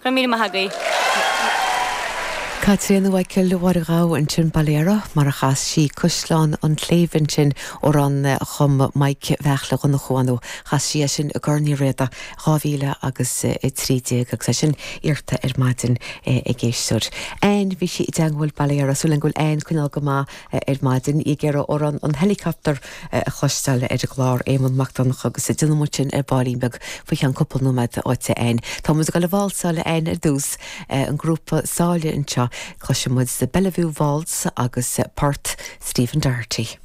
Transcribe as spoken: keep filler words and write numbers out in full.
Go raibh míle maith agaibh. Caitríona Mhichael Mháire Ghabh ansin Bolero mar a chas sí Caisleán an tSléibhe ansin amhrán a chum Mike Bheartla Dhonnchú chas sí é sin i gCorn Uí Riada dhá mhíle agus a trí déag agus é sin iarrta ar maidin ag éisteoir. Ann bhí sí i dteagmháil Bolero súil go bhfuil Ann coinneáil go maith ar maidin í ag iarraidh amhrán an helicopter a chloisteáil ar an gclár Éamonn Mac Donncha agus déanfaidh muid sin ar baillín beag faoi cheann cúpla nóiméad uait Ann. Tá muid ag dul a válsáil Ann ar dtús an grúpa Sáile anseo cloisfidh muid the Bellevue Waltz agus port Stephen Doherty.